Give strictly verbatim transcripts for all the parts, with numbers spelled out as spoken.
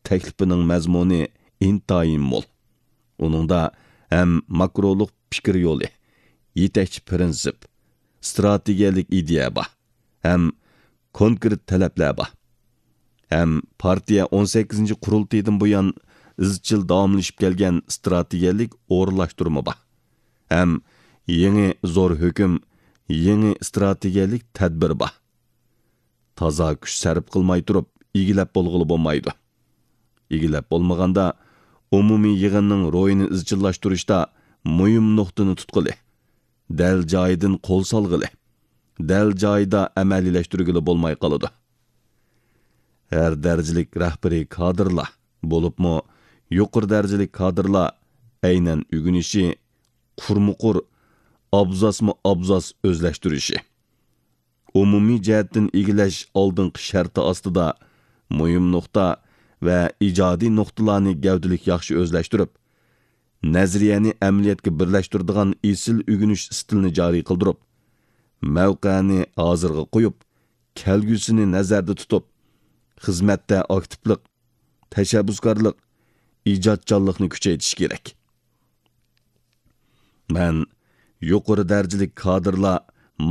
تەكلىپىنىڭ مەزمۇنى ئىنتايىن مول. ئۇنىڭدا ھەم ماكرولۇق پىكىر يولى، يېتەكچى پىرىنسىپ، ئىستراتېگىيەلىك ئىدىيە بار، ھەم كونكرېت تەلەپلەر بار، ھەم پارتىيە ئون سەككىزىنچى قۇرۇلتىيىدىن بۇيان ئىزچىل داۋاملىشىپ كەلگەن ئىستراتېگىيەلىك ئورۇنلاشتۇرما بار، ھەم يېڭى زور ھۆكۈم، يېڭى ئىستراتېگىيەلىك تەدبىر بار. تازا كۈچ سەرپ قىلماي تۇرۇپ ئىگىلەپ بولغىلى بولمايدۇ. ئىگىلەپ بولمىغاندا، ئومۇمىي يىغىننىڭ روھىنى ئىزچىللاشتۇرۇشتا مۇھىم نۇقتىنى تۇتقىلى، دەل جايىدىن قول سالغىلى، دەل جايىدا ئەمەلىيلەشتۈرگىلى بولماي قالىدۇ. ھەر دەرىجىلىك رەھبىرىي كادىرلار، بولۇپمۇ يۇقىرى دەرىجىلىك كادىرلار ئەينەن ئۆگىنىشى، قۇرمۇقۇر، ئابزاسمۇ ئابزاس ئۆزلەشتۈرۈشى، ئومۇمىي جەھەتتىن ئىگىلەش ئالدىنقى شەرتى ئاستىدا مۇھىم نۇقتا ۋە ئىجادىي نۇقتىلارنى گەۋدىلىك ياخشى ئۆزلەشتۈرۈپ، نەزەرىيەنى ئەمەلىيەتكە بىرلەشتۈرىدىغان ئېسىل ئۆگىنىش ئىستىلىنى جارى قىلدۇرۇپ، مەۋقەنى ھازىرغا قويۇپ، كەلگۈسىنى نەزەردە تۇتۇپ، خىزمەتتە ئاكتىپلىق، تەشەببۇسكارلىق، ئىجادچانلىقنى كۈچەيتىش كېرەك. مەن يۇقىرى دەرىجىلىك كادىرلار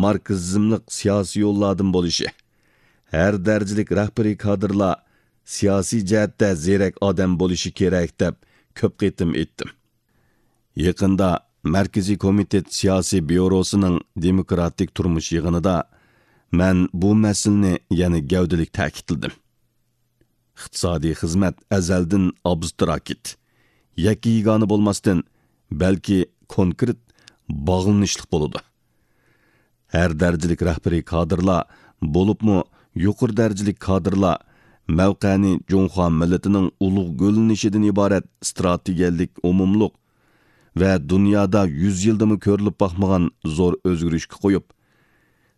ماركسىزملىق سىياسىي يوللاردىن بولۇشى، ھەر دەرىجىلىك رەھبىرىي كادىرلار سىياسىي جەھەتتە زېرەك ئادەم بولۇشى كېرەك، دەپ كۆپ قېتىم ئېيتتىم. يېقىندا مەركىزىي كومىتېت سىياسىي بيۇروسىنىڭ دېموكراتىك تۇرمۇش يىغىنىدا مەن بۇ مەسىلىنى يەنە گەۋدىلىك تەكىتلىدىم. ئىقتىسادىي خىزمەت ئەزەلدىن ئابستراكت، يەككە-يېگانە بولماستىن، بەلكى كونكرېت، باغلىنىشلىق بولىدۇ. ھەر دەرىجىلىك رەھبىرىي كادىرلار، بولۇپمۇ يۇقىرى دەرىجىلىك كادىرلار مەۋقەنى جۇڭخۇا مىللىتىنىڭ ئۇلۇغ گۈللىنىشىدىن ئىبارەت ئىستراتېگىيەلىك ئومۇملۇق ۋە دۇنيادا يۈز يىلدىمۇ كۆرۈلۈپ باقمىغان زور ئۆزگىرىشكە قويۇپ،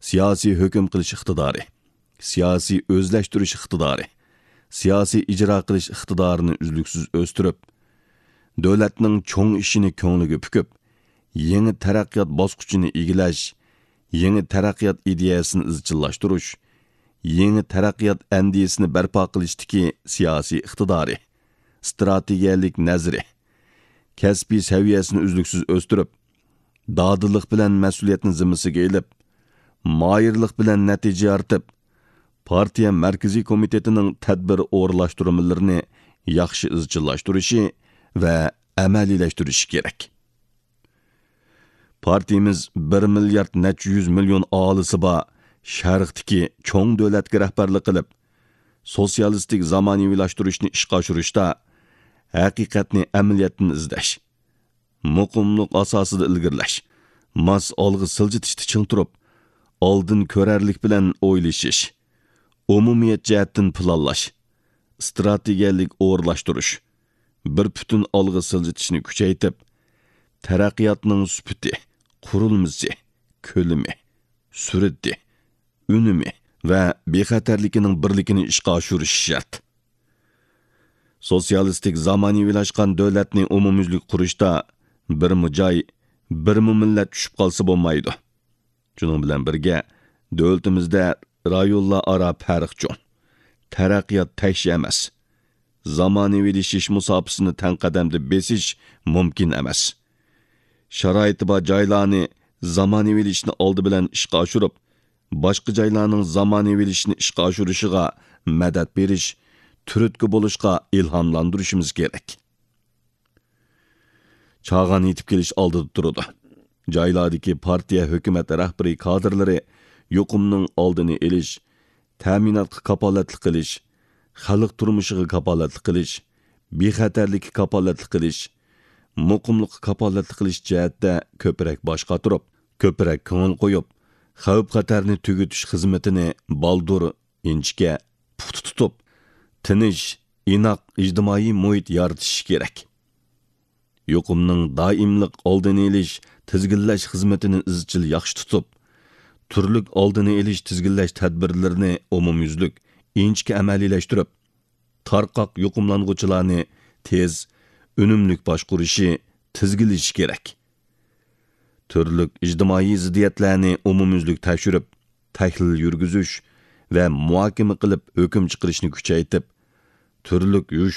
سىياسىي ھۆكۈم قىلىش ئىقتىدارى، سىياسىي ئۆزلەشتۈرۈش ئىقتىدارى، سىياسىي ئىجرا قىلىش ئىقتىدارىنى ئۈزلۈكسىز ئۆستۈرۈپ، دۆلەتنىڭ چوڭ ئىشىنى كۆڭلىگە پۈكۈپ، يېڭى تەرەققىيات باسقۇچىنى ئىگىلەش، يېڭى تەرەققىيات ئىدىيەسىنى ئىزچىللاشتۇرۇش، يېڭى تەرەققىيات ئەندىزىسىنى بەرپا قىلىشتىكى سىياسىي ئىقتىدارى، ئىستراتېگىيەلىك نەزىرى، كەسپىي سەۋىيەسىنى ئۈزلۈكسىز ئۆستۈرۈپ، دادىللىق بىلەن مەسئۇلىيەتنى زىممىسىگە ئېلىپ، ماھىرلىق بىلەن نەتىجە يارىتىپ، پارتىيە مەركىزىي كومىتېتىنىڭ تەدبىر ئورۇنلاشتۇرمىلىرىنى ياخشى ئىزچىللاشتۇرۇشى ۋە ئەمەلىيلەشتۈرۈشى كېرەك. پارتىيىمىز بىر مىليارد نەچچە يۈز مىليون ئاھالىسى بار شەرقتىكى چوڭ دۆلەتكە رەھبەرلىك قىلىپ، سوتسىيالىستىك زامانىۋىلاشتۇرۇشنى ئىشقا ئاشۇرۇشتا ھەقىقەتنى ئەمەلىيەتتىن ئىزدەش، مۇقىملىق ئاساسىدا ئىلگىرىلەش، ماس ئالغا سىلجىتىشتا چىڭ تۇرۇپ، ئالدىن كۆرەرلىك بىلەن ئويلىشىش، ئومۇمىيەت جەھەتتىن پىلانلاش، ئىستراتېگىيەلىك ئورۇنلاشتۇرۇش، بىر پۈتۈن ئالغا سىلجىتىشنى كۈچەيتىپ، تەرەققىياتنىڭ سۈپىتى، قۇرۇلمىسى، كۆلىمى، سۈرئىتى، ئۈنۈمى ۋە بىخەتەرلىكىنىڭ بىرلىكىنى ئىشقا ئاشۇرۇش شەرت. سوتسىيالىستىك زامانىۋىلاشقان دۆلەتنى ئومۇميۈزلۈك قۇرۇشتا بىرمۇ جاي، بىرمۇ مىللەت چۈشۈپ قالسا بولمايدۇ. شۇنىڭ بىلەن بىرگە، دۆلىتىمىزدە رايونلار ئارا پەرق چوڭ، تەرەققىيات تەكشى ئەمەس. زامانىۋىلىشىش مۇساپىسىنى تەڭ قەدەمدە بېسىش مۇمكىن ئەمەس. شارائىتى بار جايلارنى زامانىۋىلىشىشنى ئالدى بىلەن ئىشقا ئاشۇرۇپ، باشقا جايلارنىڭ زامانىۋىلىشىشنى ئىشقا ئاشۇرۇشىغا مەدەت بېرىش، تۈرتكە بولۇشقا ئىلھاملاندۇرۇشىمىز كېرەك. چاغان يېتىپ كېلىش ئالدىدا تۇرىدۇ. جايلاردىكى پارتىيە، ھۆكۈمەت رەھبىرىي كادىرلىرى يۇقۇمنىڭ ئالدىنى ئېلىش، تەمىناتقا كاپالەتلىك قىلىش، خەلق تۇرمۇشىغا كاپالەتلىك قىلىش، بىخەتەرلىككە كاپالەتلىك قىلىش، مۇقىملىققا كاپالەتلىك قىلىش جەھەتتە كۆپرەك باش قاتۇرۇپ، كۆپرەك كۆڭۈل قويۇپ، خەۋپ-خەتەرنى تۈگىتىش خىزمىتىنى بالدۇر، ئىنچىكە، پۇختا تۇتۇپ، تىنچ، ئىناق ئىجتىمائىي مۇھىت يارىتىش كېرەك. يۇقۇمنىڭ دائىملىق ئالدىنى ئېلىش، تىزگىنلەش خىزمىتىنى ئىزچىل ياخشى تۇتۇپ، تۈرلۈك ئالدىنى ئېلىش، تىزگىنلەش تەدبىرلىرىنى ئومۇميۈزلۈك، ئىنچىكە ئەمەلىيلەشتۈرۈپ، تارقاق يۇقۇملانغۇچىلارنى تېز، ئۈنۈملۈك باشقۇرۇشى، تىزگىنلىشى كېرەك. تۈرلۈك ئىجتىمائىي زىددىيەتلەرنى ئومۇميۈزلۈك تەكشۈرۈپ، تەھلىل يۈرگۈزۈش ۋە مۇھاكىمە قىلىپ ھۆكۈم چىقىرىشنى كۈچەيتىپ، تۈرلۈك يوشۇرۇن